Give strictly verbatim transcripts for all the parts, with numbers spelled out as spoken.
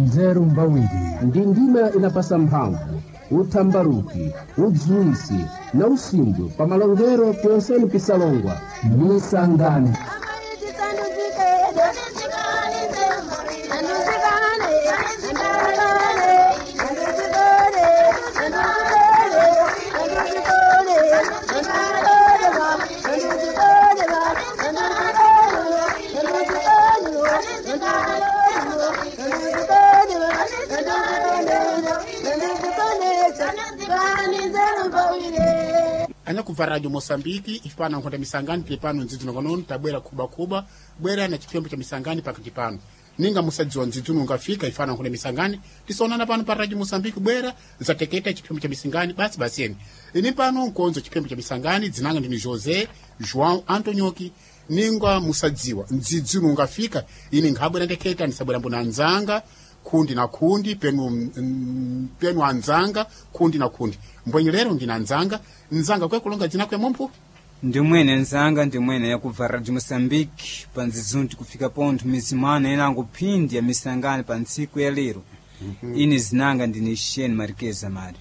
Nzeru mbawiri. Ndi ndima inapasa mphamvu, uthambaruki, udziwisi na usimbwe pa malongero pyonseni pisalongwa. Misangani. Anyakubva Radio Moçambique ifipano nkhonda misangani tili pano ndzidzi konono tabwera khubakhuba bwera na chipembo cha misangani pakati pano ninga musadziwa ndzidzi ungafika ifana nkhonda misangani tisaonana pano pa Radio Moçambique bwera zateketa chipembo cha misangani basi basi eni ini pano nkonzo chipembo cha misangani dzinanga ndini José João Antonioki ninga musadziwa ndzidzi ungafika ini nkhabwera ndeketa ndisabwera mbona anzanga khundi na khundi penu mm, penu anzanga khundi na khundi mbwenyi lero ndina anzanga nzanga kwekulonga dzina kwe mumphu. Ndimwene nzanga, ndimwene yakubva Radio Moçambique pa nzizunti kufika pontho mizimana inango phindi ya misangani pa ntsiku ya lero. Ine zinanga ndine Shane Marquez Mario.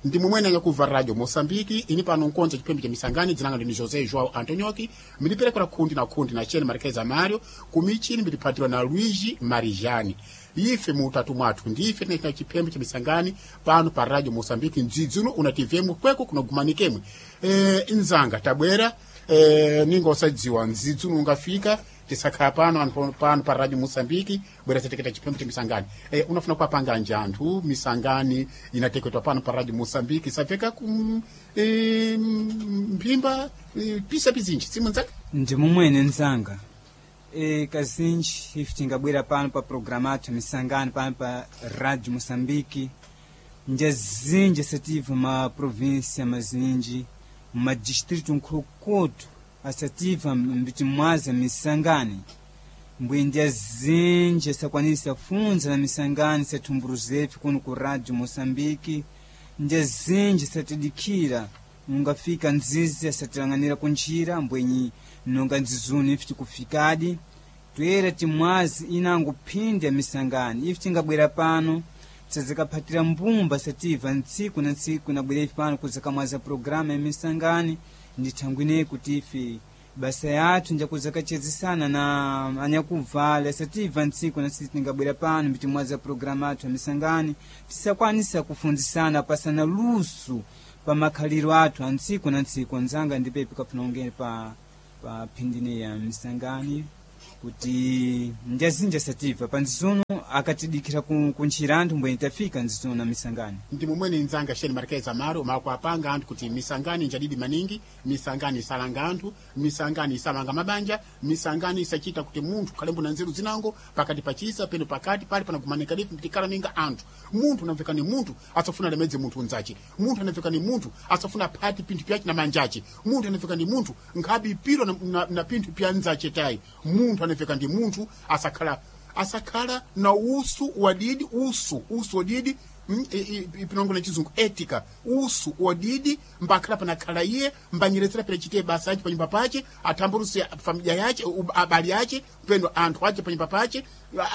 Ndi mumwene anyakubva Radio Moçambique ini pano nkonza chipembe cha misangani dzinanga ndini José João Antonioki mbiliperekera khundi na khundi na Shane Marquez Mario kumichini mbiliphatirwa na Luigi Marijani ife muutatu mwathu ndife tinachita chipembe cha misangani pano pa Radio Moçambique mdzidzi uno unativemo kweko kunogumanikemwe e, nzanga tabwera e, ninga usadziwa mdzidzi uno ungafika tisakhala pano anthu pano pa Radio Moçambique bwera sateketa chipembe cha misangani e, unafuna kuwapanga nji anthu misangani inateketwa pano pa Radio Moçambique isapfeka kum e, mphimba e, pisa pizinji simu nzanga. Ndi mumwene nzanga, e, kazinji ife tingabwera pano pa programa athu ya misangani pano pa Radio Moçambique njazinji asativa ma província mazinji madistrito nkhulukutu asativa mbiti mwaza misangani mbwe ndyazinji asakwanisa funza na misangani sathumbuluzefe kuno ku Radio Moçambique ndyazinji satidikira ungafika nzizi asatilang'anira kunjira mbwenyi nonga nzizuni ife tikufikadi toyera timwazi inango phindi ya misangani ife tingabwera pano sazikaphatira mbumba sativa ntsiku na ntsiku nabwera ife pano kuzakamwaza programa ya misangani ndithangwine kuti ife basa yathu njakuzakachezesana na anyakuvala sativa ntsiku na ntsiku tingabwera pano mbitimwaza programa athu ya misangani tisakwanisa kufunzisana pasana luso pa makhaliro athu a ntsiku na ntsiku. Nzanga ndipepe kafuna ungene pa pa phindine ya misangani kuti njazinja sativa pa nzizuno akatidikira ku- kuntchira anthu mbweni tafika nzizuno na misangani. Ndi mumwene nzanga Shane Marquez Amaro makuapanga anthu kuti misangani njadidi maningi misangani isalanga anthu misangani isamanga mabanja misangani isachita kuti munthu khalembo na nzeru zinango pakati pachisa peno pakati pali panagumanika lifu mtikala ninga anthu munthu anamveka ni munthu asafuna lemedze munthu unzace munthu anamveka ni munthu asafuna phati pinthu pyace na manjace munthu anamveka ni munthu nkhabi pilo na, na, na pinthu pya nzace tayi munthu anamveka ndi munthu asakhala asakhala na usu wadidi usu usu wadidi mm, i- i- ipinongo na chizungu etika usu wadidi mbakhala panakhala iye mbanyeretsera pene chite basa yace panyumba pace athambarusi familia yace u- abali ace peno anthu ace panyumba pace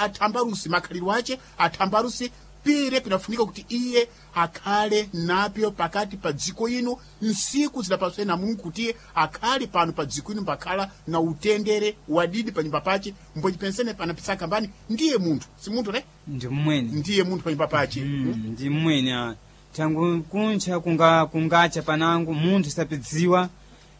athambarusi makhaliro ace athambarusi pire pinafunika kuti iye akhale napyo pakati pa dziko ino nsiku zidapaswe na Mulungu kuti iye akhale pano pa dziko ino mbakhala na utendere wadidi panyumba pace mbocipensene panapisaka mbani ndiye munthu si munthu ne Ndi mmwene. Ndiye munthu panyumba pace. Mm, ndi mmwene ah. Thangu kuncha kunga kungacha panango munthu sapidziwa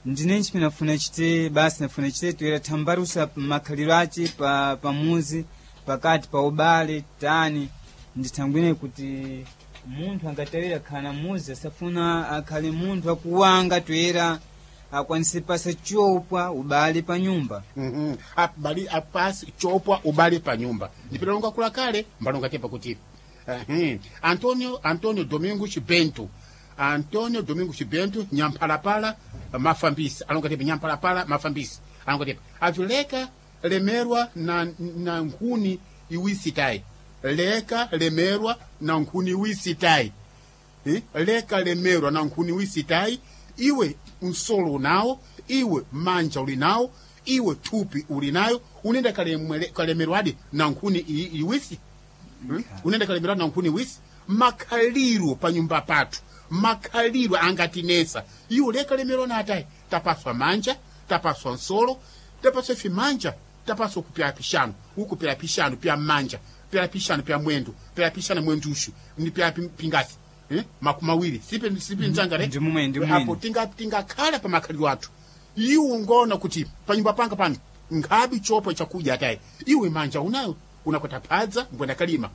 ndinenji pinafuna chite basi nafuna chite toyera thambarusa makhaliro ace pa pamuzi pakati pa ubale tani ndithangwine kuti munthu angatawira khala muzi asafuna akhale munthu akuwanga toyera akwanise pasa chopwa ubale pa nyumba. Mhm. Abali apasi chopwa ubale pa nyumba ndipinalonga kula kale mbalonga tepa kuti Ehe. Antonio Antonio Domingos Bento Antonio Domingos Bento nyamphalapala mafambisi alonga tepa nyamphalapala mafambisi alonga tepa avileka lemerwa na, na nkhuni iwisi tayi leka lemerwa na nkhuni iwisi tayi. Eh, leka lemerwa na nkhuni wisi tayi iwe msolo unawo iwe manja uli nawo iwe thupi uli nayo unenda kalemwele- kalemerwadi na nkhuni i- iwisi. Hmm? Unenda kalemera na nkhuni wisi makhaliro pa nyumba pathu makhaliro angatinesa iwo lekalemerwa na atayi tapaswa manja tapaswa nsolo tapaswa ife manja tapaswa kupyala pixanu ukupyala pixanu pya manja pyala pixanu pya mwendo pyala pixanu mwendushu ni pyala pi- pingasi eh? makumi mawiri sipe sipe nzanga re Ndi mumwe, ndi mumwe. apo tinga tingakhala pa makhaliro athu iwo ngona kuti panyumba panga pano nkhabi chopo chakudya atayi iwe manja unayo unakwata phadza mbwenda kalima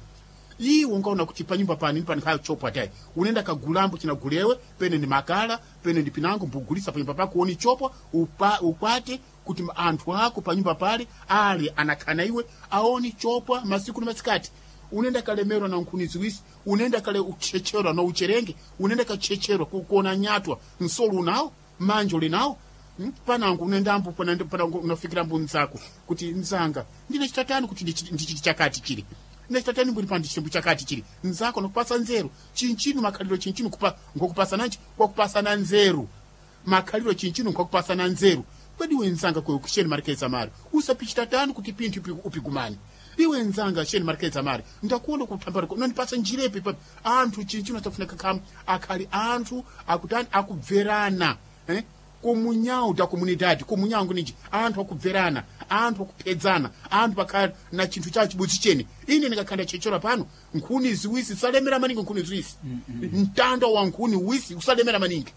iwe ungaona kuti panyumba pani pani nkhayo chopo atayi unenda kagulambo chinagulewe pene ni makala pene ndi pinango mbugulisa panyumba pako uoni chopo upa, ukwate kuti anthu ako panyumba pale ali anakhana iwe aoni chopwa masiku ni masikati unenda kalemerwa na nkhuni ziwisi unenda kale uchecherwa na ucherenge unenda kachecherwa ku- kuona nyatwa nsolo unawo manja uli nawo Hmm? panango unendambo panango panango unafikirambo nzako kuti nzanga ndine chitatani kuti ndichi- ndichiti chakati chili ndine chitatani mbuli pano ndichitembo chakati chili nzako nokupasa nzeru chinchinu makhaliro chinchinu kupa ngokupasa nanji kwakupasana nzeru makhaliro chinchinu ngokupasana nzeru kwedi iwe nzanga kwe kusheni marikeza mari usapichitatani kuti pinthu upi- upigumani iwe nzanga sheni marikeza mari ndakuona kutambara unondipasa njirepi pa anthu chinchinu asafunika khamu akhali anthu akutani akubverana eh? kumunyau da comunidade kumunyau ninji anthu akubverana anthu akuphedzana anthu pakhala na chinthu chawo chibudzi chene ine ndikakhala chechora pano nkhuni ziwisi salemera maningi nkhuni ziwisi mtanda wa nkhuni wisi usalemera maningi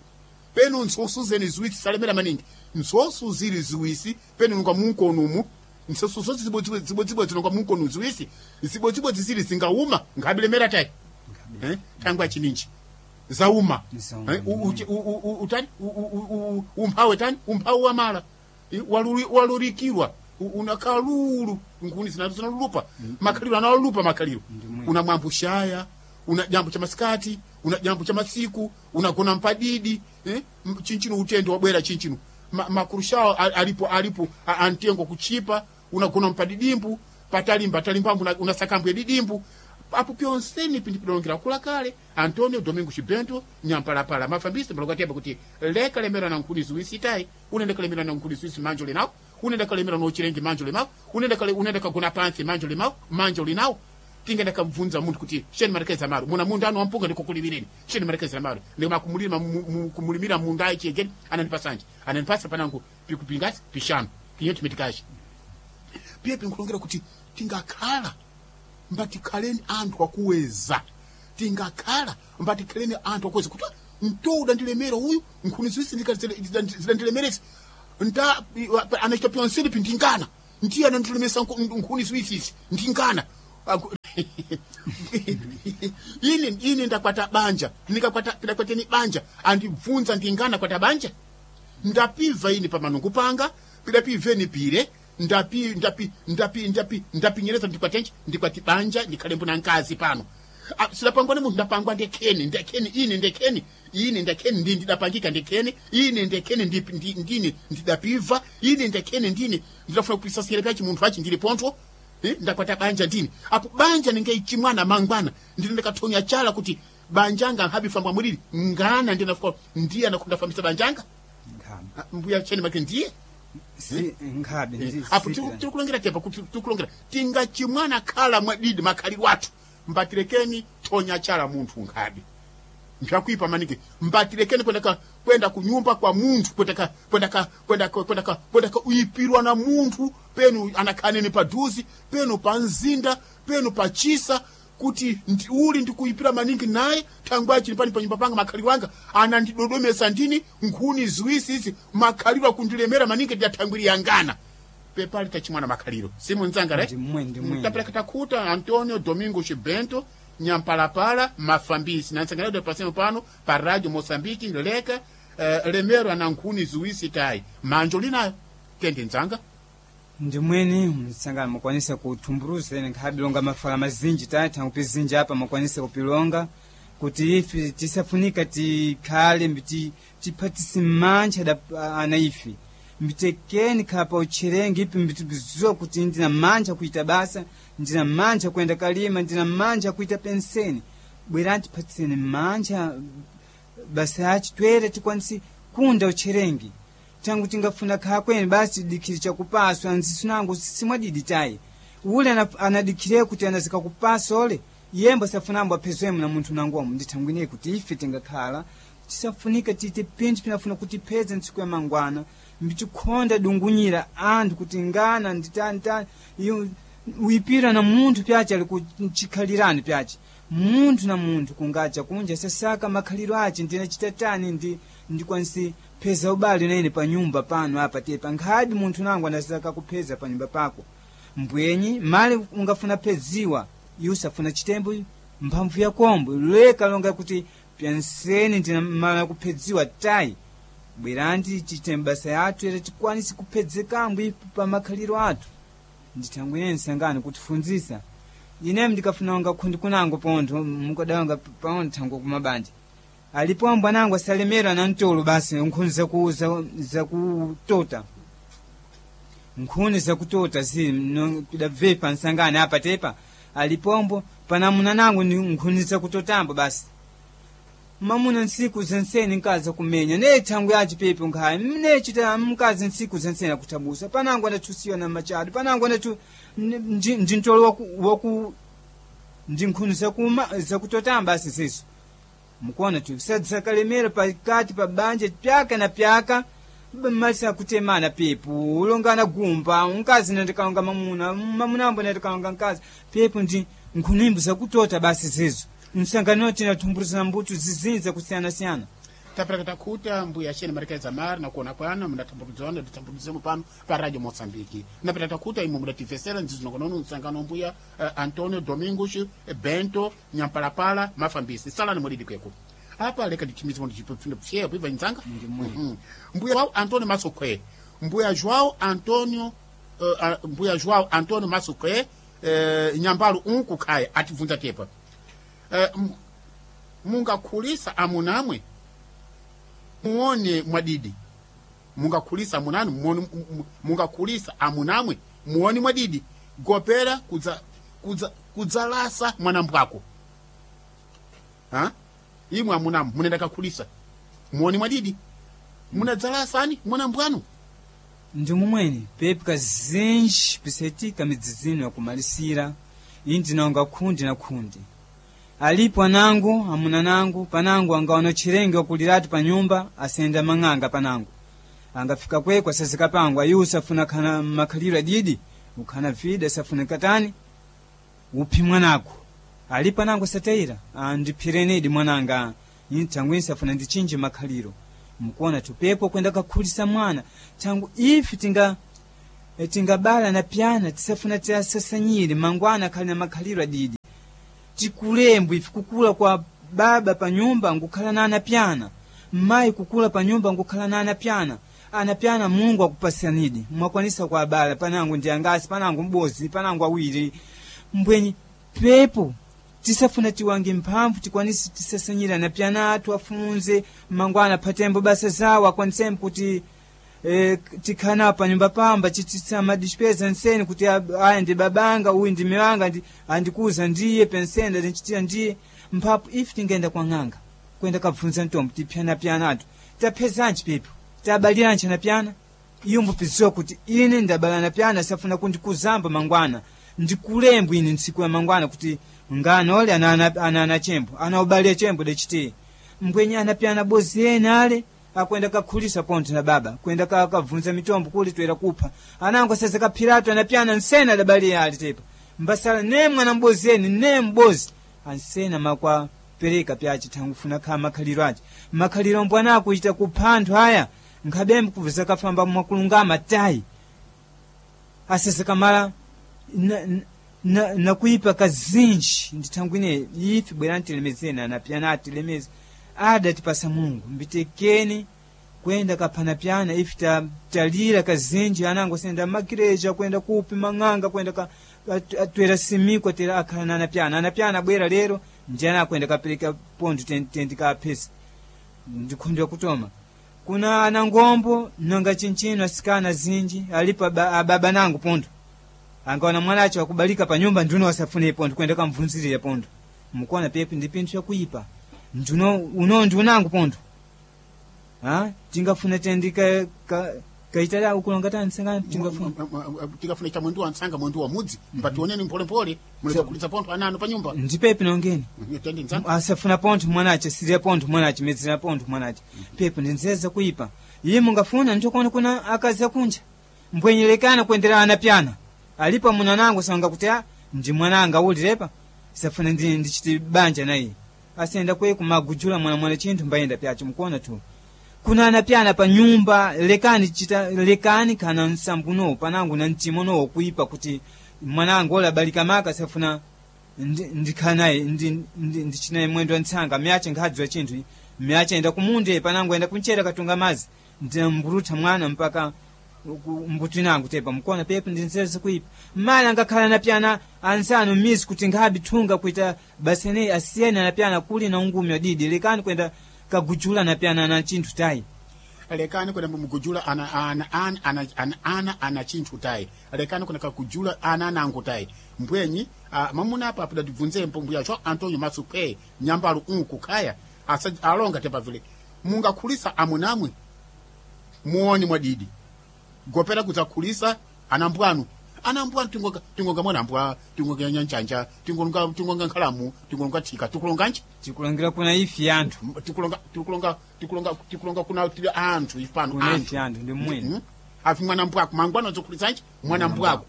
peno nsosu zene ziwisi salemera maningi nsosu zili ziwisi peno nunga munkono umu nsosu zoti zibodzibodzi nunga munkono ziwisi zibodzibodzi zili zingauma ngabilemera tayi eh? tangwa chininji zauma Zauma. Eh, u- u- u- u- utani U- u- u- umphawe tani umphawe wamala I- waluri- walurikirwa U- unakalulu nkuni zina- zinalulupa makhaliro analulupa makhaliro Ndimwe. una mwambo shaya una jambo cha masikati una jambo cha masiku unagona mpadidi eh? M- chinchino utendo wabwera chinchino Ma, makurushawo a- alipo alipo a- antengo kuchipa unagona mpadidimbu patalimba talimbambu una- unasakambwe didimbu apo pyonseni pindipilongera kula kale antonio domingo chibento nyampalapala mafambisi mbalokateba kuti leka lemera na nkhuni ziwisi itayi unenda kalemera na nkhuni ziwisi manjo linawo unenda kalemera nochilengi manjo limawo unenda kale unenda kagona pansi manjo limawo manjo linawo tingenda kabvunza munthu kuti sheni marekeza maro muna munda anu wampunga ndikukulimireni sheni marekeza maro ndikumakumulima kumulimira munda ayi chegeni anandipasanje anandipasa panangu pikupingasi pishanu kinyo chimitikachi piye pinkulongera kuti tingakhala mbatikhaleni anthu akuweza tingakhala mbatikhaleni anthu akuweza kuti mtoda ndilemera uyu nkhuni ziwisi zidandilemeresa nta anachita pyonseni pindingana ndiye anandilemesa nku- nkhuni ziwisisi ndingana Aku- ine ine ndakwata banja ndikakwata ndakwateni banja andibvunza ndingana kwata banja ndapiva ini pamanungu panga pidapiveni pire ndapi ndapi ndapi ndapi ndapinyereza ndikwatenje ndikwati banja ndikhalembo na nkazi pano Ah, sidapangwa ni munthu ndapangwa ndekheni ndekheni ine ndekheni ine ndekheni ndi ndidapangika ndekheni ine ndekheni ndi- ndi- ndine ndidapiva ine ndekheni ndine ndidafuna kupisasira pyachi munthu achi ndili pontho Eh, ndakwata banja ndini apo banja ningeichimwana mangwana ndine ndakathonya chala kuti banjanga nkhabifambwa mulili ngana ndinafuka ndiye anakundafambisa banjanga Nkhabe. Ah, mbuya cheni make ndiye Si nkhabe ndi apo si- tiri kulongera tepa kuti tiri kulongera tingachimwana khala mwadidi makhaliro athu mbatirekeni thonya chala munthu nkhabe mpyakuipa maningi mbatirekeni kwenda ka kwenda kunyumba kwa munthu kwenda ka kwenda ka kwenda ka kwenda ka kwenda ka uyipirwa na munthu penu anakhaneni paduzi penu pa mzinda penu pa chisa kuti ndi, uli ndikuyipira maningi naye thangwi achili pani panyumba panga makhaliro anga anandidodomesa ndini nkhuni ziwisi izi makhaliro akundilemera maningi ndiyathangwiri yangana pepali tachimwana makhaliro simunzanga re Ndimwe, ndimwe. tapeleka takuta antonio domingo chibento nyampalapala mafambisi na nsangalado pasemo pano pa radio moçambique leka eh, lemero ana nkhuni ziwisi tayi manjo linayo tende nzanga ndimweni msangano mukwanisa kuthumburuza ene nkhabe mafala mazinji tayi thangu zinji apa mukwanisa kupilonga kuti ife tisafunika tikhale mbiti tiphatise mantcha da ana ife mbitekeni khapa utcherenge ipi mbitibizuwa kuti ndina mantcha kuita basa ndina mantcha kuyenda kalima ndina mantcha kuita penseni bwerani tiphatiseni mantcha basa achi twere tikwanise kunda utcherengi tangu tingafuna khala kweni basi dikhili chakupaswa nzisu nango simwadidi tayi Ule anadikire kuti anazika kupasa ole yembo safunambo aphezwemo na munthu nangomo. Ndithangwine kuti ife tingakhala tisafunika tite pinthu pinafuna kutipeza ntsiku ya mangwana mbitikhonda dungunyira anthu kuti ngana nditani tani iyo uipira na munthu pyace ali kuchikhalirani pyace munthu na munthu kungacha kunja sasaka makhaliro ace ndinachita tani ndi ndikwanisi pheza ubale naine pa nyumba pano apa tepa nkhadi munthu nangu anasaka kupheza pa nyumba pako mbwenyi mali ungafuna pheziwa iwe usafuna chitembo mphamvu yakombo leka longa kuti pyanseni ndinamala kuphedziwa tayi bwerandi chitembo basa yathu era tikwanise kuphezekambo ipo pa makhaliro athu. Ndithangwine nsangano kutifunzisa ine ndikafuna unga khundi kunango pontho mukadawanga paontho thango kumabanja alipo ambwanango asalemera na mtolo basi nkhuni zaku zakutota nkhuni zakutota zi pidabvepa nsangano apa tepa alipombo panamuna nango ni nkhuni zakutotambo basi mamuna ntsiku zenseni nkazi akumenya ne thangu yace pepo nkhaya mnechita mkazi ntsiku zenseni akuthabusa panango andathusiwa na machado panango andatu ndi mtolo waku, waku ndi nkhuni zakuma zakutotamba asi zizo mukuona tu sadzakalemera pakati pa banja pyaka na pyaka malisa kutemana pepo ulongana gumba mkazi nandikalonga mamuna mamuna ambo nandikalonga mkazi pepo ndi nkhunimbo zakutota basi zizo msangano tinathumbulizana mbuto zizinza kusiyana-siyana. Tapereka takhuta mbuya xene marikeza mari nakuona kwana mudathambulidzana dathambulidzemo pano pa radio Moçambique. Napeta takhuta imwe mudativesera nzizinongonono msangano mbuya uh, Antonio Domingos Bento Nyampalapala Mafambisi salani mwalidi kweko apa leka ndichimize ndipfyepo ibva nzanga. Mm -hmm. Mbuya wao Antonio Masukwe mbuya João Antonio uh, mbuya João Antonio Masukwe uh, nyambalu unku khaya atibvunza tepa Uh, mungakhulisa amunamwe muone mwadidi mungakhulisa amunanu muone mungakhulisa amunamwe muone mwadidi gopera kudza kudza kudzalasa mwanambwako ha imwe amunamwe munenda kakhulisa muone mwadidi munadzalasani mwanambwanu. Ndi mumweni pepu kazinji pisetika midzizino yakumalisira iyi ndinonga khundi na khundi alipo anango amuna nangu panango angaona chirenge wakuliratu pa nyumba asenda mang'anga panango angafika kwekwe asazika pango ayi usafuna khana makhaliro adidi ukhana vida safuna katani uphi mwanako alipo anango asatayira andiphirenedi mwananga nthangu safuna ndichinje makhaliro mukuona tupepo kwenda kakhulisa mwana thangu ifi tinga tingabala na pyana tisafuna tiasasanyire mangwana akhali na makhaliro adidi tikulembwe ife kukula kwa baba pa nyumba ngukhala na anapyana mayi kukula pa nyumba ngukhala na anapyana anapyana Mulungu akupasanidi mwakwanisa kwa abala panango ndi angasi panango mbozi panango awiri mbwenyi pepo tisafuna tiwange mphamvu tikwanise tisasanyire anapyana athu afunze mangwana phatembo basa zawo akwanisembo kuti e, tikhana pa nyumba pamba chitisa madispeza nseni kuti aya ndi babanga uyu ndi miwanga ndi andikuza ndiye pensenda ndinchitira ndiye mphapo ife tingenda kwa ng'anga kwenda kabvunza mtombo tipyanapyana atu taphezanji pepo tabaliranji anapyana iyo mbupiziwa kuti ine ndabala anapyana safuna kundikuzamba mangwana ndikulembwa ine ntsiku ya mangwana kuti ngana ole ana ana chembo ana ubalya chembo dachitiye mbwenye anapyana bozi ene ale akwenda kakhulisa pontho na baba kwenda kakabvunza mitombo kuli toera kupha anango seza kaphiratu anapyana nsena adabaliya ali tepa mbasala ne mwana mbozi eni ne mbozi ansena makwa pereka pyace thangufuna kha makhaliro ace makhaliro mbwanako ita kupha anthu aya nkhabembe kubveza kafamba mwakulungama tayi asese kamala nakuipa kazinji ndithangwine ife bwerani tilemezeni anapyana atilemeze adatipasa Mulungu mbitekeni kwenda kaphanapyana ife talira kazinji anango senda makireja kwenda kupi mang'anga kwenda ka, atwera simiko tera akhala na anapyana anapyana abwera lero njana akwenda kapereka pontho tendikaphesa ndikhundira kutoma kuna anangombo nonga chinchino asikana zinji alipo ababa nangu pontho angaona mwana acho akubalika pa nyumba nduno wasafune pontho kwenda kamvunzirira pontho mukuona pepi ndi pinthu yakuipa njuno uno ndi unangu pontho ha tingafuna tendika ka, Kaitala ukulonga tani sangani tingafuna Tikafuna cha mwendu wa ntsanga, mwendu wa mudzi, mpationeni mpholemphole muleza kulitsa pontho ananu pa nyumba. Ndipepi nongeni. Tende ntsanga. Asafuna pontho mwanache, sirya pontho mwanache, medzera pontho mwanache. Pepo ndinzeza kuipa iye mungafuna ntokona kuna akazi akunja mbwenyelekana kuendera ana pyana alipo munanango sanga kuti a ndi mwananga ulirepa safuna ndi ndichiti banja naye asenda kwe kumagujula mwana mwana chinthu mbayenda pyacho mukuona tu kuna ana pyana pa nyumba lekani chita lekani kana nsambu no panangu na mtimo no kuipa kuti mwanangu ola balika maka safuna ndi- ndikhala naye ndi- ndi- ndichinaye mwendo wa ntsanga myache nkhadziwa chinthu myache enda kumunde panangu enda kunchera katunga mazi ndinamburutha mwana mpaka ku- mbuto inangu tepa mukona pepo ndinzeze kuipa mala ngakhala na pyana ansanu mizi kuti nkhabi thunga kuita basene asiyene na pyana kuli na ungumi wadidi lekani kwenda kagujula na pyana na chinthu tayi. Lekani kwenda mugujula ana ana ana ana ana ana ana chinthu tayi, lekani kwenda kakujula ana anango tayi mbwenyi. Ah, mamuna apa apudatibvunze mbuya cho Antonio Masuphe nyambalu unku khaya asa alonga tepa vile mungakhulisa amunamwe muoni mwadidi gopera kudzakhulisa anambwanu anambwanu tingonga tingonga mwanambwa, tingonga nyanjanja, tingonga tingonga nkhalamu, tingonga thika, tikulonganji? Tikulangira kuna ifi anthu. tikulonga tikulonga tikulonga tikulonga kuna tili anthu ifano. Kuna Anthu ifi anthu ndi mmwene. Mm. Afi mwana mbwako mangwana dzokulitsanji mwana mbwako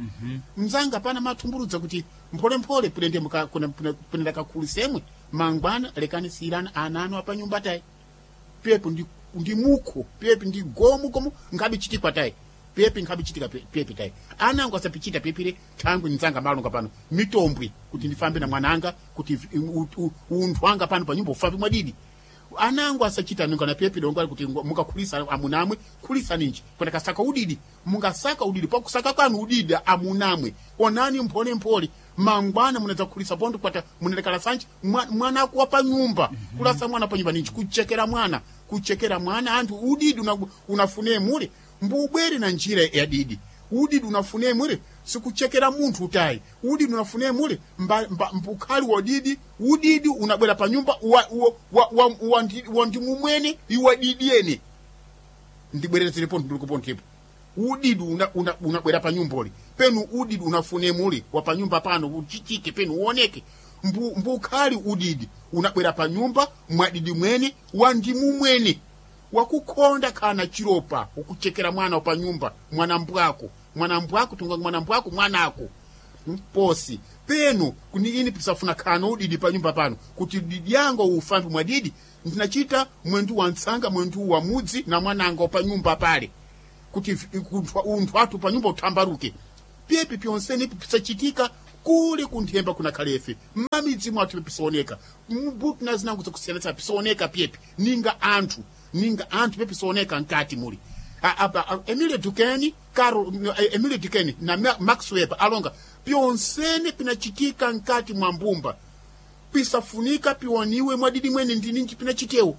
mzanga pana mathumburudza kuti mpholemphole pulende muka- kuna- pune- punenda kakhulisemwe mangwana lekani siyirana ana anu apanyumba tayi pepo ndi, ndi mukho pepi ndi gomu gomu nkhabe chitikwa tayi pepi nkhabe chitika pe- pepi tayi anango asapichita pepire thangwi nzanga malonga pano mitombwe kuti ndifambe na mwananga kuti vi- u- u- unthu anga pano panyumba ufambe mwadidi anango asachita ninga na pepi dongo ali kuti ngo- mukakhulisa amunamwe khulisa ninji kwenda kasaka udidi mungasaka udidi pakusaka kwanu udidi amunamwe onani mphole mphole mangwana munadzakhulisa pondo kwata munalekala sanji mwa- mwana akuwa pa nyumba kulasa mwana pa nyumba ninji kuchekera mwana kuchekera mwana anthu udidi una- unafune mule mbubwere na njira ya didi udidi unafune mule sikuchekera munthu utayi udidi unafune mule mba, mba, mbukhali wa didi udidi unabwera pa nyumba wa, wa, wa, wa, wa, ndi, wa ndimumwene iwa didi ene ndibwerezere ndilikupo ndipo udidi unabwera una, unabwera pa nyumboli penu udidi unafune muli wa pa nyumba pano uchichike penu uoneke mbu, mbukhali udidi unabwera pa nyumba mwadidi mwene wa ndimu mwene wakukhonda kana chiropa ukuchekera mwana wa pa nyumba mwana mbwako mwana mbwako tunga mwana mbwako mwanako posi penu kuni ini pisafuna khano udidi pa nyumba pano kuti didi yango ufambi mwadidi ndinachita mwendu wa ntsanga mwendu wa mudzi na mwananga pa nyumba pale kuti vi- kunthu- unthu athu pa nyumba uthambaruke pyepi pyonseni pisachitika kule kunthemba kuna khalefe mmamidzi mwathu pisaoneka mbuti na zinango zakusiyanitsa pisaoneka pyepi ninga anthu ninga anthu pepisaoneka mkati muli A- apa a- Emile Duquesne Carol eh, Emile Duquesne na Ma- Max Weber alonga pyonsene pinachitika mkati mwa mbumba pisafunika piwaniwe mwadidi mwene ndininji pinachitewo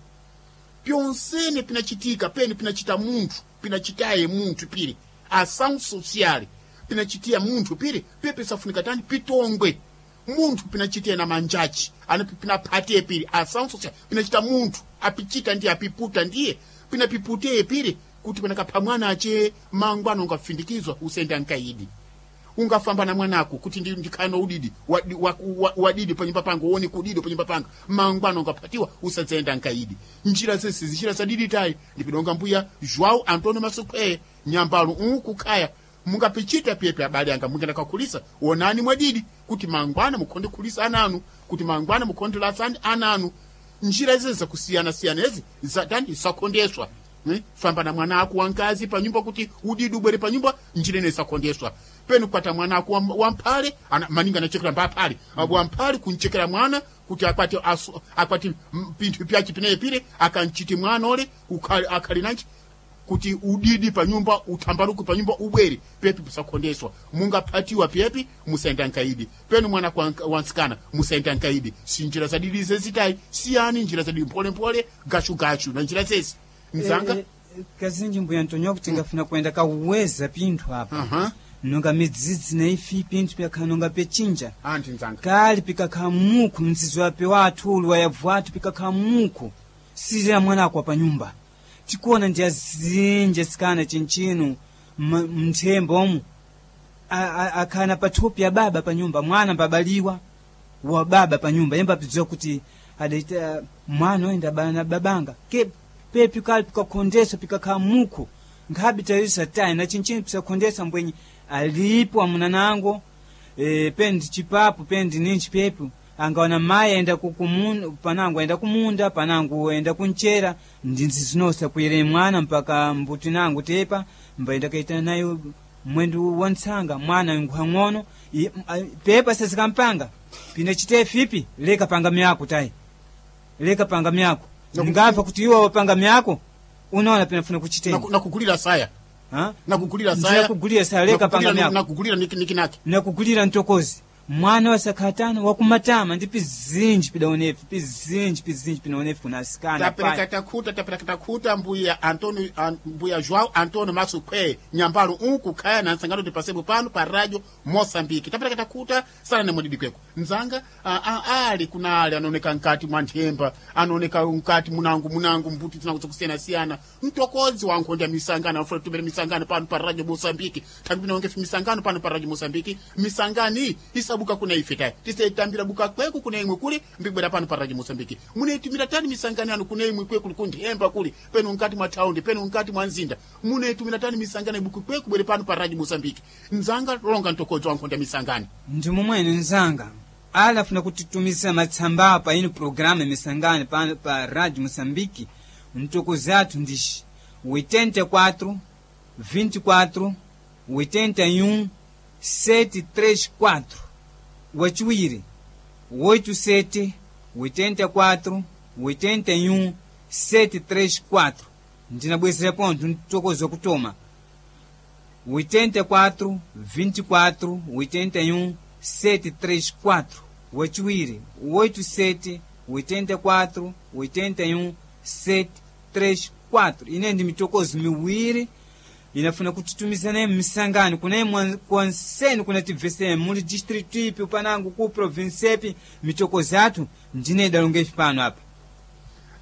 pyonsene pinachitika pene pinachita munthu pinachitaye munthu pili ação social pinachitia munthu pili pye pisafunika tani pitongwe munthu pinachitia na manjachi ana pinaphatiye pili ação social pinachita munthu apichita ndiye apiputa ndiye pinapiputeye pili kuti panakapha mwana ache mangwana ungafindikizwa usenda nkaidi ungafamba na mwanako kuti ndi ndikhano udidi wadidi wa, wa, wadidi panyumba panga uone kudidi panyumba panga mangwana ungaphatiwa usadzenda nkaidi njira zese zinjira zadidi tayi ndipidonga mbuya João Antonio Masukweye nyambalo unku khaya mungapichita pyepe abale anga mungenda kakhulisa onani mwadidi kuti mangwana mukhonde khulisa ananu kuti mangwana mukhonde lasani ananu njira izi zakusiyana-siyana ezi zatani zakhondeswa. Eh, famba na mwana ako wankazi panyumba kuti udidi ubwere panyumba njira ine isakhondeswa penu kwata mwana ako wam- wamphale ana, maninga anachekera mbaphale mm. Wamphale kunchekera mwana kuti akwati asu, akwati mm, pinthu pyachi pineyi pile akanchiti mwana ole ukhale akhali nanchi kuti udidi panyumba uthambaluke panyumba ubwere pepi pusakhondeswa mungaphatiwa pepi musayenda nkaidi penu mwana kwa- wansikana musayenda nkaidi si njira zadidi zezitayi siyani njira zadidi mpholemphole gachugachu na njira zezi mzanga. Eh, eh, kazinji mbuya Antonio kuti ngafuna kuenda kaweza pinthu apa Aha. nonga midzidzi na ifi pinthu pyakhala nonga pyachinja Anthu mzanga. kali pikakhala mukhu mzizi wape wathu uli wayavu athu pikakhala mukhu silira mwana akwa pa nyumba Tikuona ndi azinji asikana chinchino mthembo omu akhana pathupi ya baba pa nyumba, mwana mbabaliwa wa baba pa nyumba yemba apidziwa kuti adaita mwana oyenda na babanga ke pepi kali pikakhondesa pikakhala mukhu nkhabi tayisa tayi na chinchino pisakhondesa mbwenye alipo amunanango e, pendi chipapo pendi ninchi pepi angaona mayi aenda kukumunda panango aenda kumunda panango aenda kunchera ndinzi zinosa kuyere mwana mpaka mbuti nango tepa mbaenda kaita nayo mwendu wa ntsanga mwana nkhwang'ono pepa sezikampanga pina chite fipi leka panga myako tayi leka panga myako ngapha kuti iwo wapanga myako unaona pinafuna kuchitenga nakugulira saya ha nakugulira saya nakugulira saya leka panga myako nakugulira nikinaki nakugulira ntokozi mwana wasakhatana wakumatama ndi pizinji pidaonefi pizinji pizinji pinaonefi kuna asikana tapereka takhuta tapereka takhuta mbuya Antonio an, mbuya João Antonio Masukwe nyambalo unku khaya na nsangano tipasepo pano pa radio Mozambique tapereka takhuta sana ne mwedidi kweko nzanga a, a, ali kuna ali anaoneka nkati mwa nthemba anaoneka nkati munangu munangu mbuti zinangu zakusiyana-siyana mtokozi wa nkhonda misangano afuna tumere misangano pano pa radio Mozambique thambi pinaonge misangano pano pa radio Mozambique misangani isabuka kuna ife tayi tisaitambira buka kweku kuna imwe kuli mbibwera pano pa radio Mozambique muneitumira tani misangano yanu kuna imwe kweku kunthemba kuli penu nkati mwa thaundi penu nkati mwa nzinda muneitumira tani misangano ibuku kweku bwere pano pa radio Mozambique nzanga longa mtokozi wa nkhonda misangano ndi momwene nzanga ala afuna kutitumizira matsamba apa ino programa misangano pano pa radio Moçambique mtokozi athu ndixi oitenta e quatro vinte e quatro oitenta e um sete três quatro wachiwiri oito sete oitenta e quatro oitenta e um sete três quatro ndinabwezera ponto mtokozi wakutoma oitenta e quatro vinte e quatro oitenta e um sete três quatro wachiwiri oito sete oitenta e quatro oitenta e um sete três quatro ine ndi mitokozi miwiri inafuna kutitumizana misangano kuna kwanseni kuna tibvesene muli district ipi panango ku province ipi mitokozi athu ndine idalonga ifi pano apa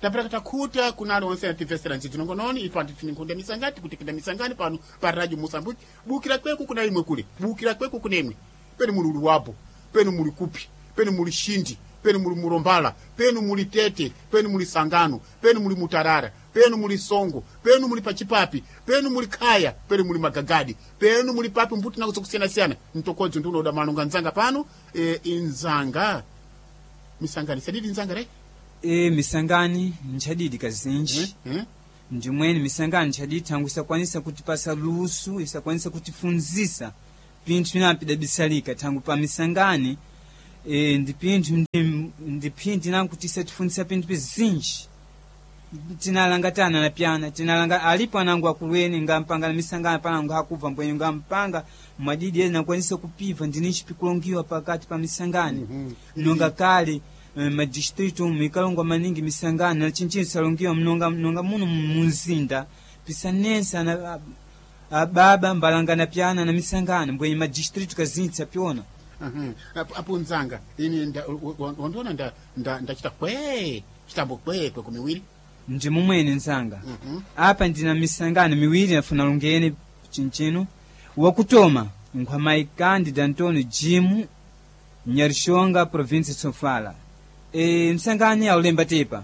tapereka takhuta kunali onse ativesera ndzidzi nongononi ife antifini nkhunda misangani tikutikida misangani pano pa radio Moçambique bukira kweku kuna imwe kuli bukira kweku kuna imwe penu muli Luwapo penu muli Kupi penu muli Shindi penu muli Murombala penu muli Tete penu muli Sangano penu muli Mutarara penu muli Songo penu muli Pachipapi penu muli Khaya penu muli Magagadi penu muli papi mbuti nako zokusiyana-siyana mtokodzi ndi unoda malonga nzanga pano e, inzanga misangani sadidi nzanga re e misangani nchadidi kazinji hmm? hmm? ndimweni misangano nchadidi thangu isakwanisa kutipasa luso isakwanisa kutifunzisa pinthu pinapi pidabisalika thangu pa misangani e, ndi pinthu ndi- ndi phindi nangu kuti isatifunzisa pinthu pizinji tinalanga tana na pyana tinalanga alipo anangu akulweni ngampanga na misangano panangu hakubva mbwenye ngampanga mwadidi ena nakwanisa kupiva ndinichi pikulongiwa pakati pa misangano mm -hmm. nonga kale eh, madistritu mikalongwa maningi misangano na chinchini salongiwa mnonga, mnonga muno munzinda pisanensa na a- ababa mbalangana pyana na misangano mbwenye madistritu kazinji sapyona Uhum. Apo- apo nzanga ini nda- wa- wandiona nda- nda- ndachita kwee chitambo kwee kweko miwiri ndi mumwene nzanga Mhm. apa ndina misangano miwiri nafuna lungene chinchino wakutoma nkhwamayi Cândido Antônio Jimu Nyarishonga province Sofala e, msangani aulemba tepa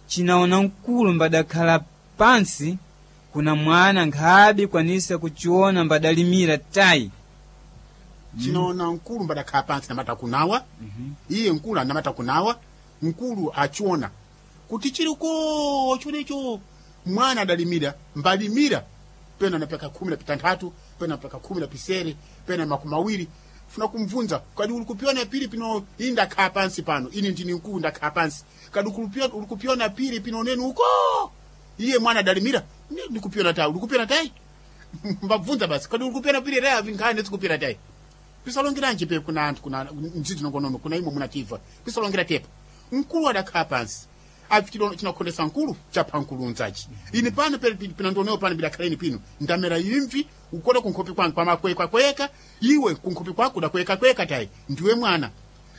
chinaona mkulu mbadakhala pansi kuna mwana nkhabe kwanisa kuchiona mbadalimira tayi chinoona mkulu mbadakhala pansi namata kunawa iye mkulu anamata kunawa mkulu achiona kuti chiliko chonecho mwana adalimira mbalimira pena napeka khumi na pitanthatu pena napeka khumi na pisere pena makumi mawiri funa kumvunza kadi ulikupiona pili pino ini ndakhala pansi pano ini ndini mkulu ndakhala pansi kadi ukulupio- ulikupiona pili pino neni uko iye mwana adalimira "Ndi- ndikupiona tayi ulikupiona tayi mbabvunza basi kadi ulikupiona pili reya vinkhani ndizikupiona tayi pisalongeranji pe kuna anthu kuna mdzidzi nongonono kuna imwe munativa pisalongera tepa mkulu adakhala pansi api chino chinakhondesa mkulu chapha mkulu unzachi ine pano pe pinandionewo pano bidakhaleni pino ndamera imvi ukoda kunkhope kwangu kwamakwekwakweka iwe kunkhope kwako udakwekakweka tayi ndiwe mwana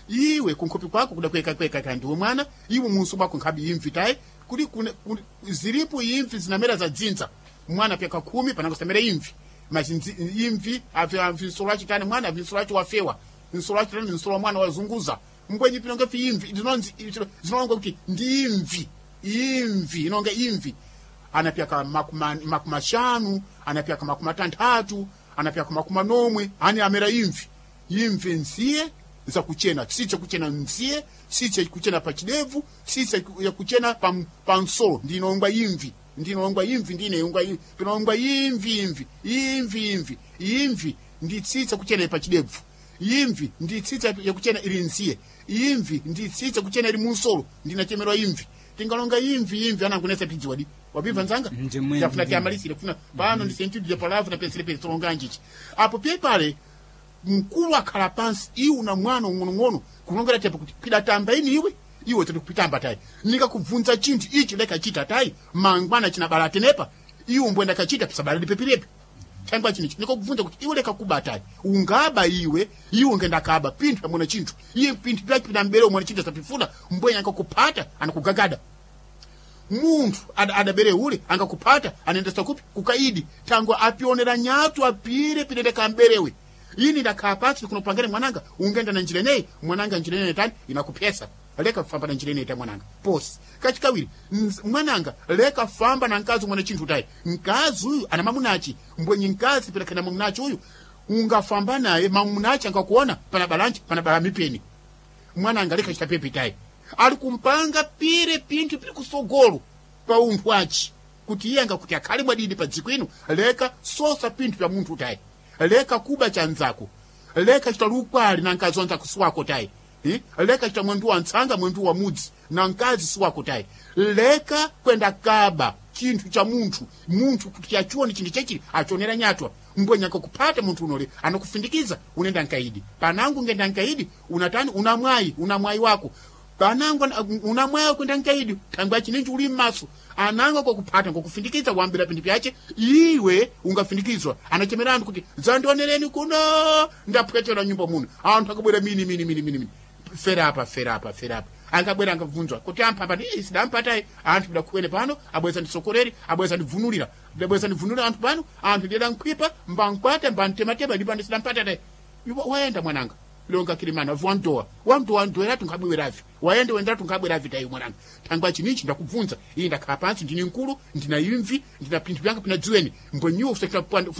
Iwe kunkhopi kwako kudakwekakweka kandiwe mwana iwe munso mwako nkhabi imvi tayi kuli kune- kuli- zilipo imvi zinamera za dzinza mwana pyaka khumi panangosamera imvi machinzi imvi avi avi nsolo achitani mwana avi nsolo achi wafewa nsolo achitani nsolo wa mwana wazunguza mbwenyi pinonga fi imvi zinonzi zinonga kuti ndi imvi imvi inonga imvi anapyaka makuma makumi ashanu anapyaka makumi atanthatu anapyaka makumi anomwe ani amera imvi imvi nziye zakuchena tsitsi kuchena nziye tsitsi kuchena pa chidevu tsitsi yakuchena pa, pa nsolo ndinongwa imvi ndinongwa imvi ndineyongwa imvi pinongwa imvi imvi imvi imvi imvi ndi tsitsi kuchena pa chidevu imvi ndi tsitsi yakuchena ili nziye imvi ndi tsitsi kuchena ili munsolo ndinachemerwa imvi tingalonga imvi imvi anangunesa pidziwadi wapimva nzanga Nje mwene, yafuna ndiye. tiamalisire kufuna pano ndi sentudi ya palavra na pensele pensele njichi apo pye pale mkulu akhala pansi iwe na mwana ung'onong'ono kulongera tepo kuti pidatamba ini iwe iwe tiri kupitamba tayi nikakubvunza chinthu ichi leka chita tayi mangwana chinabala tenepa iwe mbwenda kachita pisabala lipepirepi thangwa chinichi nikakubvunza kuti iwe leka kuba tayi ungaba iwe iwe ngenda kaba pinthu pamwena chinthu iye pinthu pyachi pinambere umwene chinthu asapifuna mbwenya angakupata anakugagada munthu ada- adabere ule angakupata anaendesa kupi kukaidi tango apionera nyatu apire pinende kamberewe ini ndakhala pansi kunopangene mwananga ungenda na njira ineyi mwananga njira ineyi tani inakupyesa leka famba na njira ineyi ta mwananga posi kachikawiri nz- mwananga leka famba na mkazi mwana chinthu tayi mkazi uyu ana mamunachi mbwenyi mkazi pilakana mamunachi uyu ungafamba naye mamunachi angakuona pana balanchi pana bala mipeni mwana leka chita pepe tayi ali kumpanga pire pinthu piri kusogolo pa unthu achi kuti iye angakuti akhale bwadidi pa dziko ino leka sosa pinthu pya munthu tayi leka kuba chanzako leka chita lukwali na mkazi wanzako siwako tayi Eh? leka chita mwendu wa ntsanga mwendu wa mudzi na mkazi siwako tayi leka kwenda kaba chinthu cha munthu munthu kuti achione chinthu chechili achionera nyatwa mbwenya akakupata munthu unole anakufindikiza unenda nkaidi panangu ngenda nkaidi unatani una mwayi una mwayi wako panangu ana- una mwayi kwenda nkaidi thangwi achininji uli mmaso anango akakupata ngokufindikiza wambira pinthu pyache iwe ungafindikizwa anachemera anthu kuti dzandionereni kuno ndapwetera nyumba muno anthu akabwera mini mini mini mini mini ferapa ferapa ferapa angabwera angabvunzwa kuti amphamba ndi sidampatayi anthu bidakuwene pano abweza ndisokoreri abweza ndibvunulira ndabweza ndibvunulira anthu pano anthu ndiyeda nkhwipa mbankwata mbantematema ndipo ndisidampatatayi wayenda mwananga longa kilimana wandowa wandowa ndoweratu nkhabweravi wayenda wenderatu nkhabweravi tayi mwananga thangwa chinichi ndakubvunza iyi ndakhala pansi ndini mkulu ndina imvi ndina pinthu pyanga pina dziweni mbwenyiwo usafuna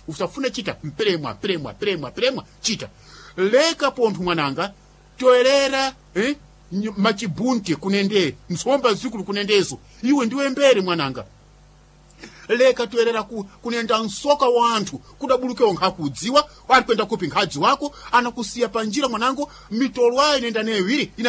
usafuna chita mpremwa premwa premwa premwa chita leka pontho mwananga toerera eh? ny- machibunte kunende ntsomba zikulu kunendezo iwe ndiwe mbere mwananga leka toerera ku, kunenda msoka wa anthu kudabulukewo nkhakudziwa ali kwenda kupi nkhadzi wako anakusiya panjira mwanango mitolo ayi nenda neyo iwiri ina